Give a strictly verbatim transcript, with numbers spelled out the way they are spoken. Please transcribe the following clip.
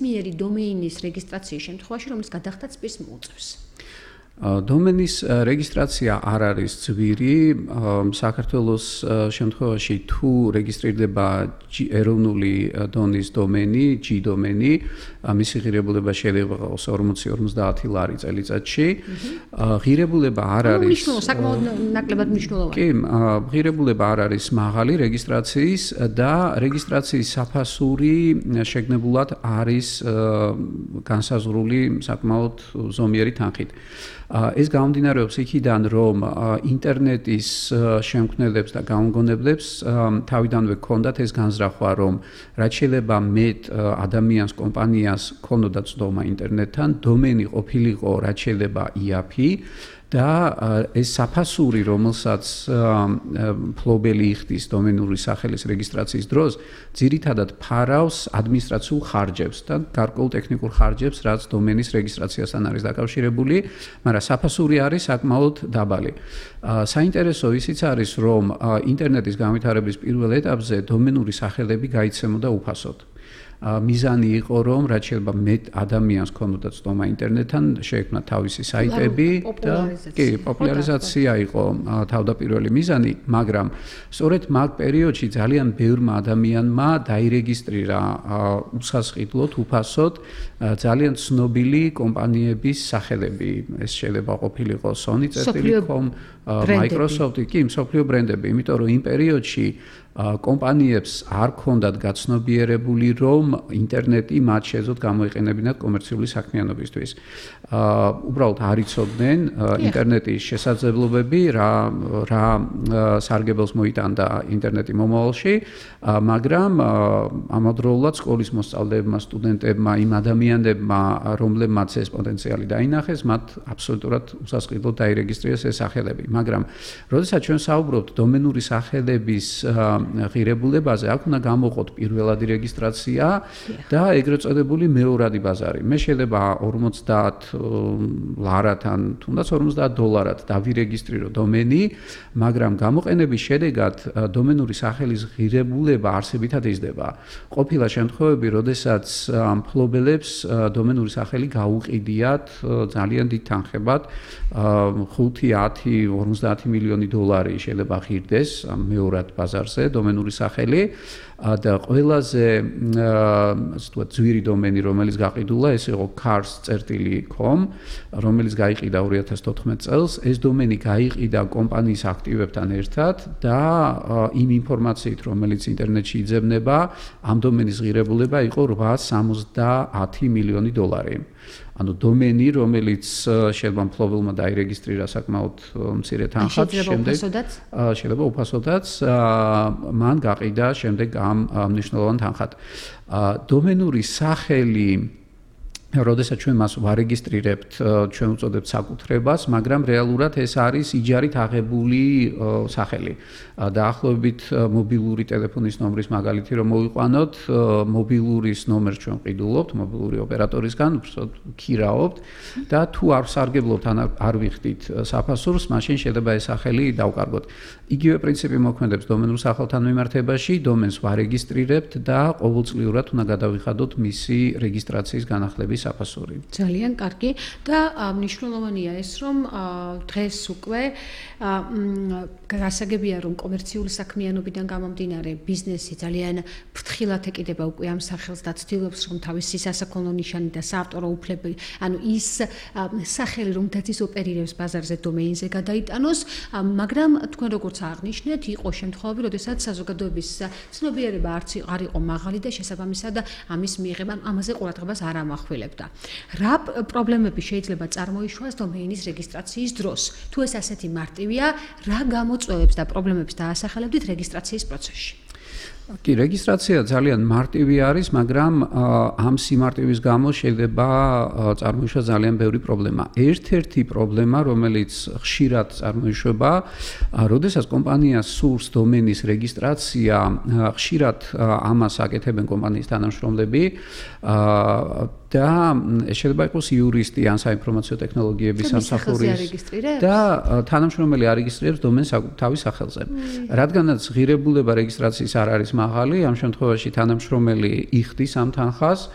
ნებისმიერი დომეინის რეგისტრაციის შემთხვევაში, რომელიც გადახდაც პირს მოუწევს. დომენის რეგისტრაცია არ არის ძვირი. საქართველოს შემთხვევაში თუ რეგისტრირდება ეროვნული დონის დომენი, G დომენი, მისი ღირებულება შეიძლება იყოს ორმოცი ორმოცდაათი ლარი წელიწადში. ღირებულება არ არის საკმაოდ ნაკლებად მნიშვნელოვანი. კი, ღირებულება არ არის მაღალი რეგისტრაციის და რეგისტრაციის საფასური შეგნებულად არის განსაზღვრული საკმაოდ ზომიერი თანხით. ეს გამომდინარეობს იქიდან, რომ ინტერნეტის შემქმნელებს და გამოგონებლებს თავიდანვე ჰქონდათ ეს განზრახვა, რომ რაც შეიძლება მეტ ადამიანს, კომპანიას ჰქონოდა ცდომა ინტერნეტთან, დომენი ყოფილიყო რაც შეიძლება იაფი და ეს საფასური, რომელსაც ფლობელი იხდის დომენური სახელის რეგისტრაციის დროს, ძირითადად ფარავს ადმინისტრაციულ ხარჯებს და გარკვეულ ტექნიკურ ხარჯებს, რაც დომენის რეგისტრაციასთან არის დაკავშირებული, მაგრამ საფასური არის საკმაოდ დაბალი. საინტერესო ისიც არის, რომ ინტერნეტის განვითარების პირველ ეტაპზე დომენური სახელები გაიცემოდა უფასოდ. მიზანი იყო, რომ რაც შეიძლება მეტ ადამიანს ჰქონოდა ცდომა ინტერნეტთან, შეექმნა თავისი საიტები და კი, პოპულარიზაცია იყო თავდაპირველი მიზანი, მაგრამ სწორედ მაგ პერიოდში ძალიან ბევრმა ადამიანმა დაირეგისტრირა უსასყიდლოდ, უფასოდ ძალიან ცნობილი კომპანიების სახელები. ეს შეიძლება ყოფილიყო Sony Telecom, Microsoft, კი, მსოფლიო ბრენდები, იმიტომ რომ იმ პერიოდში კომპანიებს არ ჰქონდათ გაცნობიერებული, რომ ინტერნეტი მათ შეეძლოთ გამოიყენებინათ კომერციული საქმიანობისთვის. უბრალოდ არ იცოდნენ ინტერნეტის შესაძლებლობები, რა რა სარგებელს მოიტანდა ინტერნეტი მომავალში, მაგრამ ამავდროულად სკოლის მოსწავლეებმა, სტუდენტებმა, იმ ადამიანებმა, რომლებმაც ეს პოტენციალი დაინახეს, მათ აბსოლუტურად უსასყიდლოდ დაირეგისტრირეს ეს სახელები. მაგრამ როდესაც ჩვენ საუბრობთ დომენური სახელების ღირებულებაზე, აქ უნდა გამოყოთ პირველადი რეგისტრაცია და ეგრეთ წოდებული მეორადი ბაზარი. მე შეიძლება ორმოცდაათ ლარათან, თუნდაც ორმოცდაათ დოლარად დავირეგისტრირო დომენი, მაგრამ გამოყენების შედეგად დომენური სახელის ღირებულება არსებითად იზრდება. ყოფილა შემთხვევები, როდესაც მფლობელებს დომენური სახელი გაუყიდიათ ძალიან დიდ თანხებად, ხუთი, ათი, ორმოცდაათი მილიონი დოლარი შეიძლება ღირდეს მეორად ბაზარზე დომენური სახელი და ყველაზე ასე ვთქვათ ძვირი დომენი, რომელიც გაყიდულა, ეს იყო cars წერტილი com, რომელიც გაიყიდა ორი ათას თოთხმეტ წელს. ეს დომენი გაიყიდა კომპანიის აქტივებთან ერთად და იმ ინფორმაციით, რომელიც ინტერნეტში იძებნება, ამ დომენის ღირებულება იყო რვაას სამოცდაათი მილიონი დოლარი. ანუ დომენი, რომელიც შეიძლება მფლობელმა დაირეგისტრირა საკმაოდ მცირე თანხად, შემდეგ შეიძლება უფასოდაც მან გაყიდა შემდეგ ამ მნიშვნელოვან თანხად. დომენური სახელი, როდესაც ჩვენ მას ვარეგისტრირებთ, ჩვენ უწოდებთ საკუთრებას, მაგრამ რეალურად ეს არის იჯარით აღებული სახელი. დაახლოებით მობილური ტელეფონის ნომრის მაგალითი რომ მოვიყვანოთ, მობილურის ნომერს ჩვენ ყიდულობთ მობილური ოპერატორისგან, უბრალოდ ქირაობთ და თუ არ სარგებლობთ ან არ ვიხდით საფასურს, მაშინ შეიძლება ეს სახელი დავკარგოთ. იგივე პრინციპი მოქმედებს დომენურ სახელთან მიმართებაში, დომენს ვარეგისტრირებთ და ყოველწლიურად უნდა გადავიხადოთ მისი რეგისტრაციის განახლების საფასური. ძალიან კარგი და მნიშვნელოვანია ეს, რომ დღეს უკვე გასაგებია, რომ კომერციული საქმიანობიდან გამომდინარე ბიზნესი ძალიან ფრთხილად ეკიდება უკვე ამ სახელს და ცდილობს, რომ თავისი სასაქონლო ნიშანი და საავტორო უფლები, ანუ ის სახელი, რომლითაც ის ოპერირებს ბაზარზე დომეინზე გადაიტანოს, მაგრამ თქვენ როგორც აღნიშნეთ, იყო შემთხვევები, როდესაც საზოგადოების ცნობიერება არც არ იყო მაღალი და შესაბამისად ამის მიღება ამაზე ყურადღებას არ ამახვილებდა. რა პრობლემები შეიძლება წარმოიშვას დომეინის რეგისტრაციის დროს? თუ ეს ასეთი მარტივია, რა გამოწვევებს და პრობლემებს დაასახელებდით რეგისტრაციის პროცესში? კი, რეგისტრაცია ძალიან მარტივი არის, მაგრამ ამ სიმარტივის გამო შეიძლება წარმოიშვას ძალიან ბევრი პრობლემა. ერთ-ერთი პრობლემა, რომელიც ხშირად წარმოიშვება, როდესაც კომპანია სურს დომენის რეგისტრაცია, ხშირად ამას აკეთებენ კომპანიის თანამშრომლები და შეიძლება იყოს იურისტი ან საინფორმაციო ტექნოლოგიების სამსახურის და თანამშრომელი არეგისტრირებს დომენს თავის სახელზე. რადგანაც ღირებულება რეგისტრაციის არ არის მაღალი, ამ შემთხვევაში თანამშრომელი იხდის ამ თანხას,